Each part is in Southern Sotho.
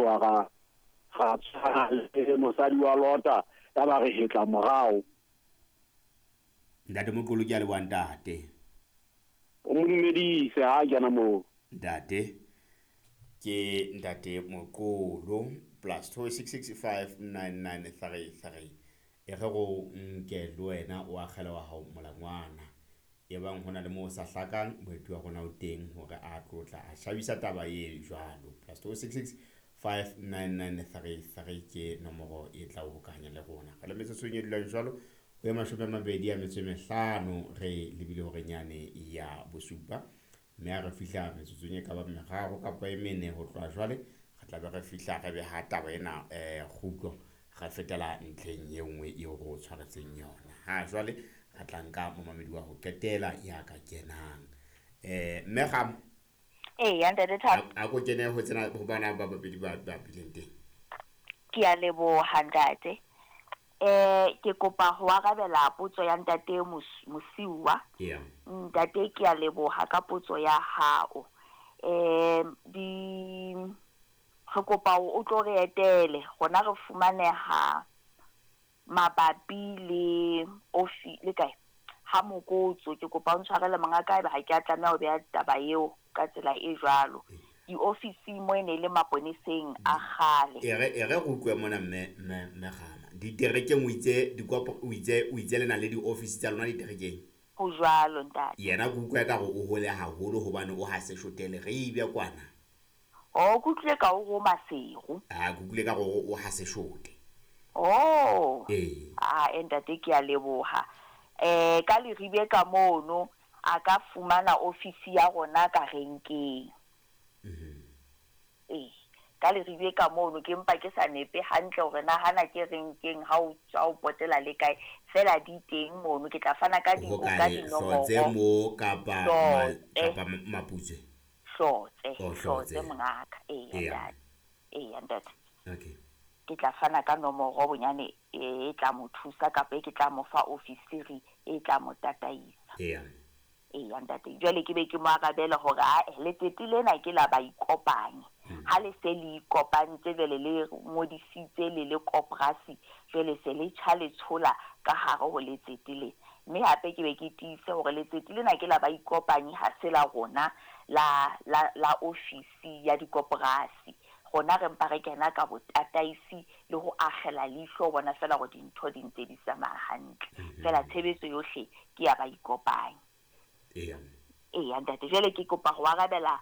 tloha ra ra tshwana le mosadi wa Lota, ya ba re hetla morao. Ntate Moqolo, ke a leboha ntate. O mo dumedise ha a kena moo. Ntate ke ntate Moqolo +266 59933. E re go nke le wena o akgele wa hao molangwana, e bang ho na le moo o sa hlakang, moeti wa rona o teng hore a tlotla a shabisa taba e jwalo. +266 59933 ke nomoro e tla o hokahanya le rona. Re le metsotsong e dulang jwalo ho ya 25 re lebile horenyane ya bosupa, mme ha re fihla metsotsong e ka bang meraro kapa e mene ho tloha jwale, re tla be re fihla re beha taba ena kgutlo, re fetela ntlheng e nngwe eo re o tshwaretseng yona. Ha jwale re tla nka momamedi wa ho qetela ya ka kenang, mme Gama. Eya, ntate Thabo. A ko kene ho tsena ho bana ba babedi ba bileng teng. Ke a leboha, ntate. Ke kopa ho arabela potso ya ntate Mosiuwa. Ntate, ke a leboha ka potso ya hao. Di re kopa o tlo re etele rona, re fumaneha mabapi le ofi le kae ha Mokotso. Ke kopa o ntshwarele, mongaka, ebe ha ke a tlameha ho beha taba eo ka tsela e jwalo. Diofising mo e ne e le maponeseng a kgale. E re re utlwe mona, mme Gama, diterekeng o itse o itse le na le di-office tsa lona diterekeng. Ho jwalo, ntate. Yena ke utlwa ka re o hole haholo hobane o ha se shotele re ibe kwana. O ke utlwile ka o ro Maseru. A ke utlwile ka gore o ha se shote. Oh. Ee. Ah, ntate, ke a leboha. Ka Leribe ka mono a ka fumana ofisi ya rona ka renkeng. Ee, ka Leribe ka mono, ke mpa ke sa nepe hantle hore na hana ke renkeng ha o tswa o potela le kae, fela di teng mono. Ke tla fana ka di ho ka kae, Hlotse dinomoro. Mo kapa Hlotse. Kapa Maputswe? Hlotse. Oh, Hlotse. Hlotse. Mongaka, eya. Eya. Ntate, eya ntate. Okay. Ke tla fana ka nomoro bonyane e tla mo thusa, kapa e ke tla mo fa ofisiri e tla mo tataisa. Eya. Eya ntate, jwale ke be ke mo arabela hore ae, letsete lena ke la baikopanyi. Ha le se le ikopantse, jwale le ngodisitse le le koporasi, jwale se le tjha le tshola ka hare ho letsete le. Mme hape ke be ke tiise hore letsete lena ke la baikopanyi, ha se la rona la ofisi ya dikoporasi. Rona re mpa re kena ka botataisi le ho akgela leihlo ho bona fela hore dintho di ntse di tsamaya hantle. Fela tshebetso yohle ke ya baikopanyi. Eya. Eya ntate, jwale ke kopa ho arabela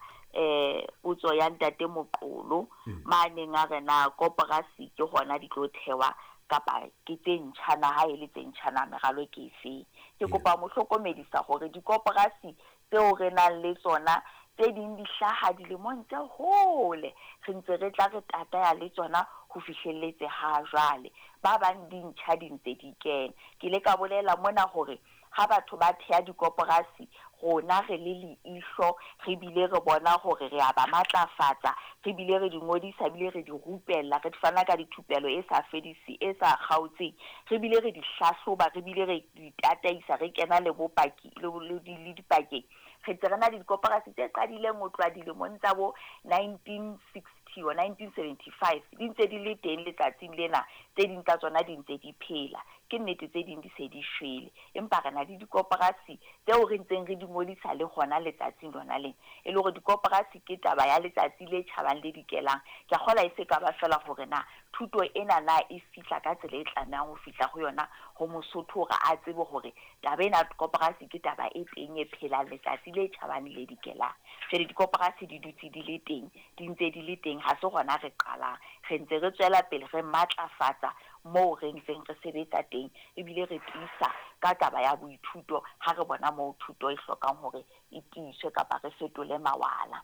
potso ya ntate Moqolo maneng a re na koporasi ke hona di tlo thewa kapa ke tse ntjha na, ha e le tse ntjha na meralo ke efeng. Ke kopa mo hlokomedisa hore dikoporasi tseo re nang le tsona, tse ding di hlaha dilemong tse hole, re ntse re tla re tataya le tsona ho fihlelletse ha jwale. Ba bang di ntjha di ntse di kena. Ke ile ka bolela mona hore ha batho ba theha dikoporasi, rona re le leihlo, re bile re bona hore re a ba matlafatsa, re bile re di ngodisa, bile re di rupella, re fana ka dithupelo e sa fedise, e sa kgaotseng, re bile re di hlahloba, re bile re di tataisa, re kena le bopaki le dipakeng. Re ntse re na le dikoporasi tse qadileng ho tloha dilemong tsa bo 1960 or 1975, di ntse di le teng letsatsing lena. Tse ding tsa tsona di ntse di phela. Ke nnete tse ding di se di shwele, empa re na le dikoporasi tseo re ntseng re di ngodisa le hona letsatsing lona lena. E le hore dikoporasi ke taba ya letsatsi le tjhabang le dikelang. Ke a kgolwa e se ka ba fela hore na thuto ena na e fihla ka tsela e tlamehang ho fihla ho yona ho Mosotho, hore a tsebe hore taba ena koporasi ke taba e teng e phelang letsatsi le tjhabang le dikelang. Jwale dikoporasi di dutse di le teng, di ntse di le teng, ha se hona re qalang. Re ntse re tswela pele re matlafatsa moo re ntseng re sebetsa teng, ebile re tiisa ka taba ya boithuto ha re bona moo thuto e hlokang hore e tiiswe kapa re fetole mawala.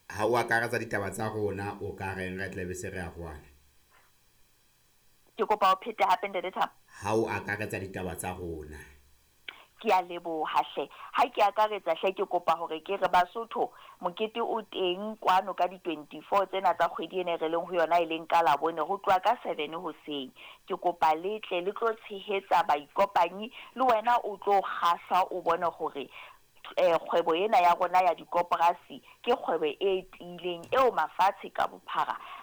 Ha o akaretsa ditaba tsa rona, o ka reng re tlabe se re arohana? Ke kopa o phete hape, ntate Thabo. Ha o akaretsa ditaba tsa rona. Ke a leboha hle. Ha ke akaretsa hle, ke kopa hore ke re Basotho, mokete o teng kwano ka di-24 tsena tsa kgwedi ena e re leng ho yona, e leng ka Labone, ho tloha ka 7 hoseng. Ke kopa le tle le tlo tshehetsa baikopanyi, le wena o tlo kgahlwa o bone hore kgwebo ena ya rona ya dikoporasi ke kgwebo e tiileng eo mafatshe ka bophara.